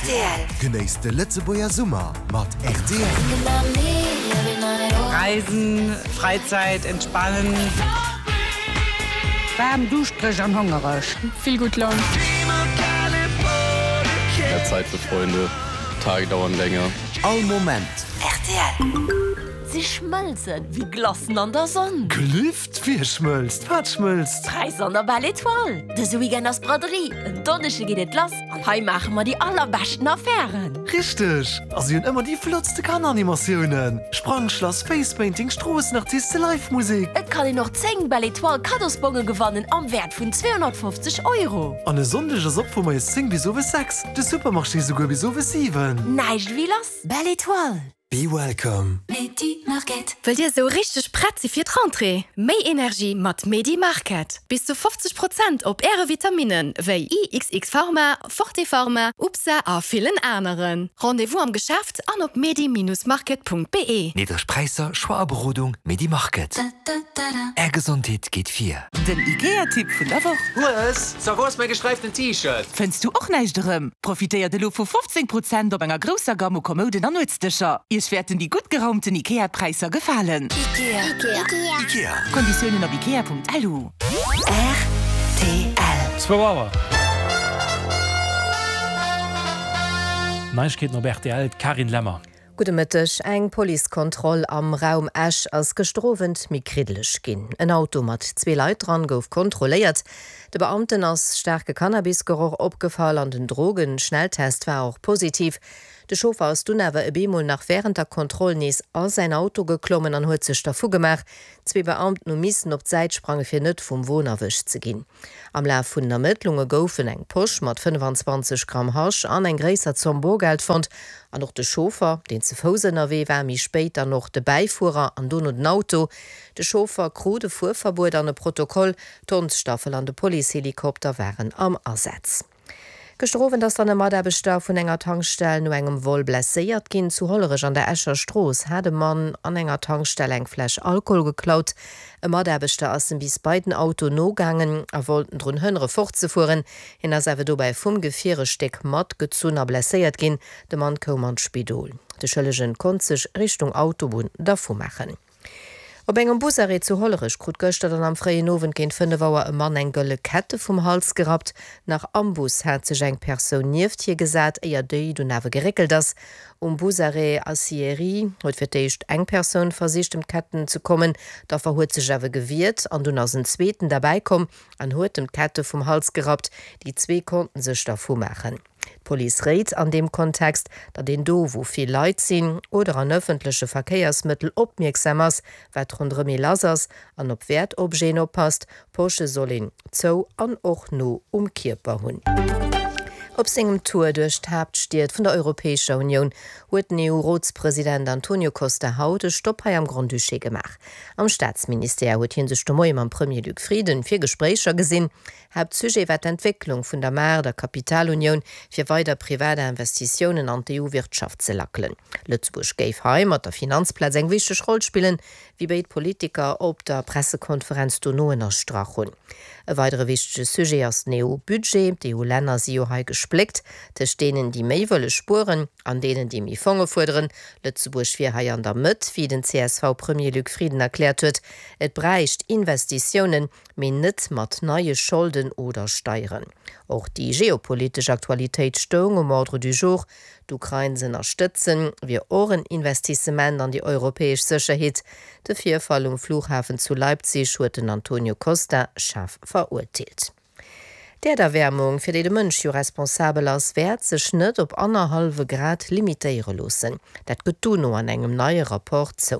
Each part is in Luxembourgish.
Rtl. Genéisst de Lëtzebuerger Summer mat rtl. Reisen, Freizeit, entspannen. Waarm, duuschtereg an hongereg. Vill gutt Laun. Mehr Zeit für Freunde, Tage dauern länger. All Moment. Rtl. Si schmëlzen wéi Glacen an der Sonn. Gelift? Wie schmëlzt? Wat schmëlzt? D'Präisser an der Belle Etoile! Dëse Weekend ass Braderie, en Donneschde geet et lass an hei maache mer déi allerbeschten Affären! Richteg! A si hunn ëmmer déi flottste Kanneranimatiounen, Sprangschlass, Facepainting, Stroossenartiste, Live Musek. Et kann een och 10 Belle Etoile Kaddosbonge gewannen am Wäert vun 250 Euro. An e Sonndeg ass op vu moies 10 bis owes 6, de Supermarché souguer bis owes 7. Näischt ewéi lass! Belle Etoile! Be welcome. Wëllt Dir esou richteg prett si fir d'Rentrée? Méi Energie mat Medi Market! Bis zu 50 Prozent op Äre Vitaminen wéi IXX Pharma, Forte Pharma, UPSA a villen aneren. Rendez-vous am Geschäft an op medi-market.be. Niddreg Präisser, Choix a Berodung, Medi Market. Är Gesondheet geet vir. Den IKEA-Tipp vun der Woch. Hues, so wou ass mäi gesträiften T-Shirt? Fënns du och näischt erëm? Profitéiert elo vu 15 Prozent op enger grousser Gamm u Kommouden an Nuetsdëscher. Iech wäerten déi gutt geraumten IKEA-Präisser gefalen. Ikea. Konditiounen op ikea.lu. Rtl. Zwou Auer. Neiegkeeten op rtl, d'Carine Lemmer. Gudde Mëtteg. Eng Policekontroll am Raum Esch ass gëschter Owend méi kriddeleg ginn. En Auto mat zwee Leit dran gouf kontrolléiert. De Beamten ass staarke Cannabisgeroch opgefall an den Drogenschnelltest war och positiv. De Chauffer ass dunn awer e bemol nach wärend der Kontroll nees a säin Auto geklommen an huet sech dervu gemaach. Zwee Beamten hu missen op d'Säit sprange fir net vum Won erwëscht ze ginn. Am Laf vun den Ermëttlunge goufen eng Posch mat 25 Gramm Hasch an eng gréisser Zomm Borgeld fonnt. An och de Chauffer, deen ze Fouss ënnerwee war, méi spéit dann och de Bäifuerer an dono den Auto. De Chauffer krut e Fuerverbuet an e Protokoll. D'Hondsstaffel an de Policehelikopter waren am Asaz. Gëschter Owend ass dann e Mataarbechter vun enger Tankstell no engem Vol blesséiert ginn. Zu Hollerech an der Escher Strooss hat e Mann an enger Tankstell eng Fläsch Alkohol geklaut. E Mataarbechter ass em bis bei den Auto nogaangen a wollt en drun hënnere fortzefueren. Hien ass awer dobäi vum Gefier e Stéck matgezunn a blesséiert ginn. De Mann koum an d'Spidol. De Schëllegen konnt sech Richtung Autobunn dervu maachen. Op engem Busarrêt zu Hollerech krut gëschter dann am fréien Owend géint 5 Auer e Mann eng gëlle Kette vum Hals gerappt. Nach am Bus hat sech eng Persoun nieft hie gesat, éier déi dunn awer geréckelt ass. Um Busarrêt Aciérie huet fir d'éischt eng Persoun versicht ëm d'Ketten ze kommen. D'Affer huet sech awer gewiert an dunn ass en zweeten derbäi komm an huet em d'Kette vum Hals gerappt. Déi zwee konnten sech dervu maachen. D'Police réit an deem Kontext, datt een do, wou vill Leit sinn oder an ëffentleche Verkéiersmëttel opmierksam ass, wat ronderëm ee lass ass an op Wäertobjeten oppasst. Posche soll een zou an och no um Kierper hunn. Op sengem Tour duerch d'Haaptstied vun der Europäescher Unioun huet den EU-Rotspresident Antonio Costa haut e Stopp hei am Grand-Duché gemaach. Am Staatsministère huet hie sech de Moie mam Premier Luc Frieden fir Gespréicher gesinn. Haaptsujet war d'Entwécklung vun der Maart a Kapitalunioun, fir weider privat Investitiounen an d'EU-Wirtschaft ze lackelen. Lëtzebuerg géif hei mat der Finanzplaz eng wichteg Roll spillen, wéi béid Politiker op der Pressekonferenz dono ënnerstrach hunn. E weidere wichtege Sujet ass den EU-Budget. D'EU-Länner si jo hei gespléckt tëscht deenen, déi méi wëlle spueren, an deenen, déi méi Fonge fuerderen. Lëtzebuerg wier hei an der Mëtt, wéi den CSV-Premier Luc Frieden erkläert huet. Et bräicht Investitiounen, mee net mat neie Scholden oder Steieren. Och déi geopolitesch Aktualitéit stoung um Ordre du jour. D'Ukrain z'ënnerstëtzen, wier och en Investissement an déi europäesch Sécherheet. De Virfall um Flughafen zu Leipzig huet den Antonio Costa schaarf verurteelt. D'Äerderwäermung, fir déi de Mënsch jo responsabel ass, wäert sech net op annerhallwe Grad limitéiere loossen. Dat gëtt d'UNO an engem neie Rapport zou.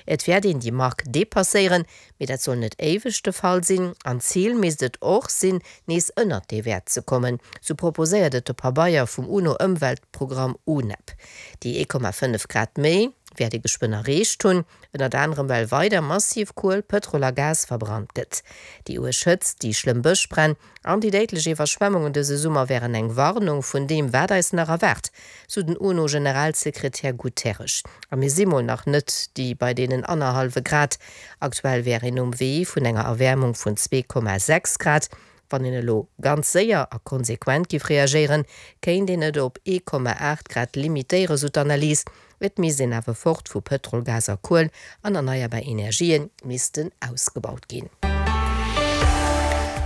Et wäert een déi Mark depasséieren, mee dat soll net éiweg de Fall sinn. An d'Zil misst et och sinn, nees ënnert dee Wäert ze kommen, sou proposéiert et de Pabeier vum UNO-Ëmweltprogramm UNEP. Déi 1,5 Grad méi wäert ee geschwënn erreecht hunn. Ënnert anerem well weider massiv Kuel, Pëtrol a Gas verbrannt gëtt. Déi uerg Hëtzt, déi schlëmm Bëschbränn an déi déidlech Iwwerschwemmungen dëse Summer wären eng Warnung vun deem, wat eis nach erwaart, sou den UNO-Generalsekretär Guterres. A mir si mol nach net déi bei deenen annerhallwe Grad. Aktuell wär een um Wee vun enger Erwäermung vun 2,6 Grad. Wann een elo ganz séier a konsequent giff reagéieren, kéint een et op 1,8 Grad limitéieren, sou d'Analys. Et misst een awer fort vu Pëtrol, Gas a Kuel an erneierbar Energië missten ausgebaut ginn.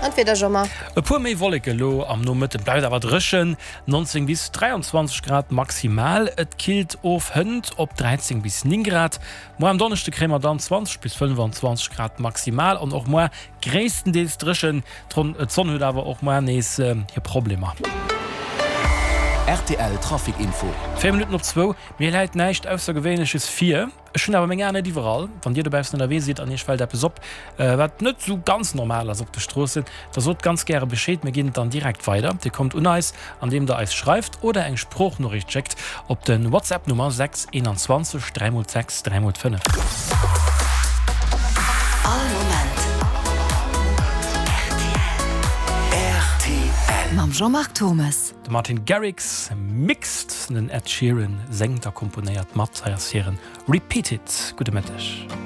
An d'Wieder, Jean-Marc? E puer méi Wolleke lo am Nomëtten, bleift awer dréchen, 19 bis 23 Grad maximal. Et killt of hënt op 13 bis 9 Grad. Muer am Donneschde kréie mer dann 20 bis 25 Grad maximal an och muer gréisstendeels dréchen. D'Sonn huet awer och muer nees hir Problemer. Rtl Trafic Info. 4 Minutten op zwou, Mir läit näischt Aussergewéinleches vir. Ech hunn awer meng Aen net iwwerall. Wann Dir dobaussen ënnerwee sidd an Iech fält eppes op, wat net esou ganz normal ass op de Stroossen, da sot ganz gäre Bescheed. Mir ginn et dann direkt weider. Dir kommt un eis, andeem Der eis schreift oder eng Sproochnoriicht schéckt op de WhatsApp Nummer 6 21 3 x 6 3 x 5. All Moment rtl. Mam Jean-Marc Thommes. De Martin Garrix mixt, den Ed Sheeran séngt a komponéiert mat. Hei ass hiren Repeat It. Gudde Mëtteg.